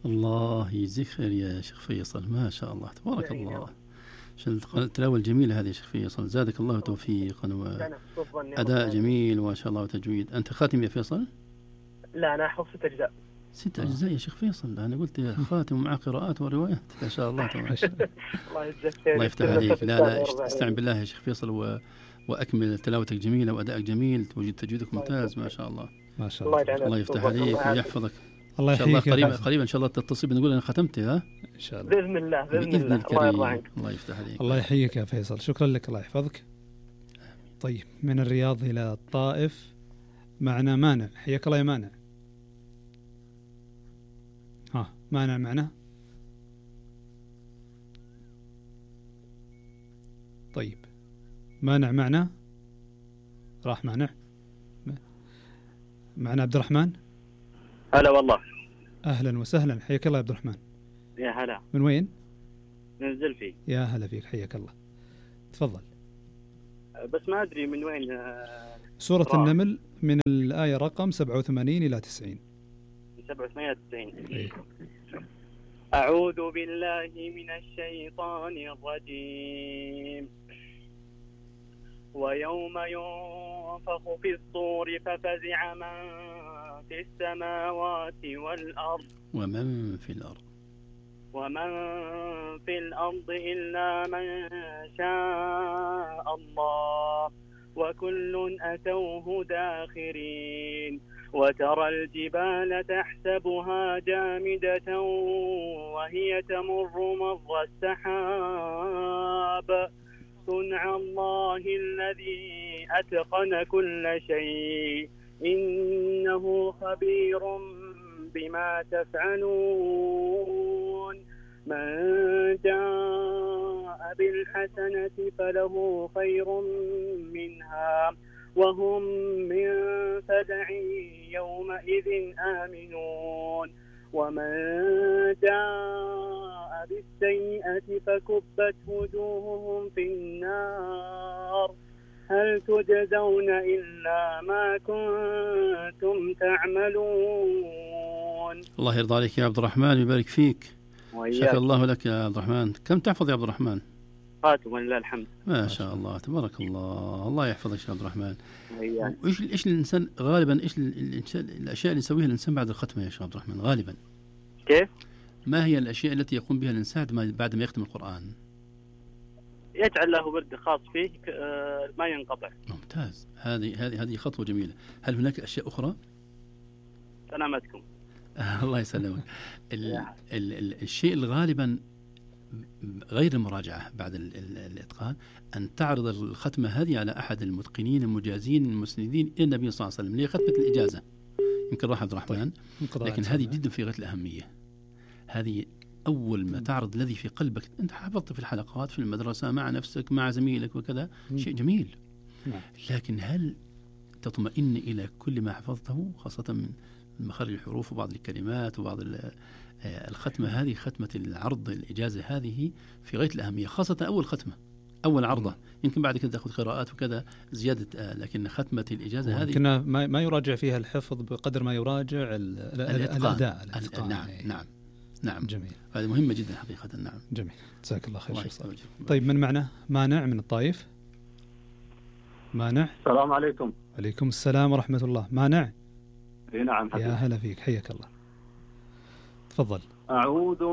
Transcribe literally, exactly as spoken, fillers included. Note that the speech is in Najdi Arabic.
الله يجزيك خير يا شيخ فيصل، ما شاء الله تبارك الله. التلاوة الجميلة هذه يا شيخ فيصل، زادك الله توفيقا وأداء جميل وما شاء الله وتجويد. أنت خاتم يا فيصل؟ لا أنا أحفظ ست أجزاء. ست أجزاء يا شيخ فيصل؟ أنا قلت خاتم مع قراءات وروايات. ما شاء الله تبارك الله. الله يفتح عليك. لا لا استعن بالله يا شيخ فيصل و... وأكمل تلاوتك جميلة وأدائك جميل وجد تجويدك ممتاز ما شاء الله. ما شاء الله. الله يفتح عليك ويحفظك. الله يحييك. قريبا قريبا إن شاء الله تتصل بنقول أنا ختمت. ها إن شاء الله بإذن الله بإذن, بإذن الله. الكريم. الله, الله يفتح عليك. الله يحييك يا فيصل، شكرا لك، الله يحفظك. طيب من الرياض إلى الطائف معنا مانع. حياك الله يا مانع. ها مانع معنا. طيب مانع معنا راح. مانع معنا عبد الرحمن. هلا والله. أهلا وسهلا، حياك الله يا عبد الرحمن. يا هلا. من وين؟ من الزلفي. يا هلا فيك، حياك الله، تفضل. بس ما أدري من وين. سورة راح. النمل من الآية رقم سبعة وثمانين إلى تسعين. سبعة وثمانين إلى تسعين. إيه. أعوذ بالله من الشيطان الرجيم. ويوم ينفخ في الصور ففزع من في السماوات والأرض ومن في الأرض ومن في الأرض إلا من شاء الله وكل أتوه داخرين. وترى الجبال تحسبها جامدة وهي تمر مر السحاب صنع الله الذي أتقن كل شيء إنه خبير بما تفعلون. من جاء بالحسنة فله خير منها وهم من فزع يومئذ آمنون. ومن جاء بالسيئة فكبت وجوههم في النار هل تجزون إلا ما كنتم تعملون. الله يرضى عليك يا عبد الرحمن ويبارك فيك. وإياك. شكر الله لك يا عبد الرحمن. كم تحفظ يا عبد الرحمن؟ خاتم ولله الحمد. ما شاء الله تبارك الله. الله يحفظك يا عبد الرحمن. وإياك. وإيش إيش الإنسان غالبا إيش الأشياء اللي يسويها الإنسان بعد الختمة يا شيخ عبد الرحمن غالبا؟ كيف؟ ما هي الأشياء التي يقوم بها الإنسان بعد ما يختم القرآن؟ يجعل له ورد خاص فيه ما ينقطع. ممتاز. هذه هذه هذه خطوة جميلة. هل هناك أشياء أخرى؟ سلامتكم. الله يسلمك. ال ال ال الشيء الغالبا غير المراجعة بعد ال ال الإتقان أن تعرض الختمة هذه على أحد المتقنين المجازين المسندين إلى النبي صلى الله عليه وسلم، اللي هي ختمة الإجازة. يمكن راح عبد الرحمن. لكن هذه جدا في غاية الأهمية. هذه أول ما تعرض الذي في قلبك. أنت حفظت في الحلقات في المدرسة مع نفسك مع زميلك وكذا، شيء جميل. لكن هل تطمئن إلى كل ما حفظته، خاصة من مخارج الحروف وبعض الكلمات وبعض الختمة هذه؟ ختمة العرض الإجازة هذه في غاية الأهمية، خاصة أول ختمة أول عرضة. يمكن بعد كده تأخذ قراءات وكذا زيادة، لكن ختمة الإجازة هذه يمكن ما ما يراجع فيها الحفظ بقدر ما يراجع الأداء. نعم نعم نعم. جميل. هذه مهمة جدا حقيقة. نعم. جميل. جزاك الله خير. طيب من معنا؟ مانع من الطائف. مانع. السلام عليكم. عليكم السلام ورحمة الله. مانع. نعم. يا هلا فيك، حياك الله، تفضل. أعوذ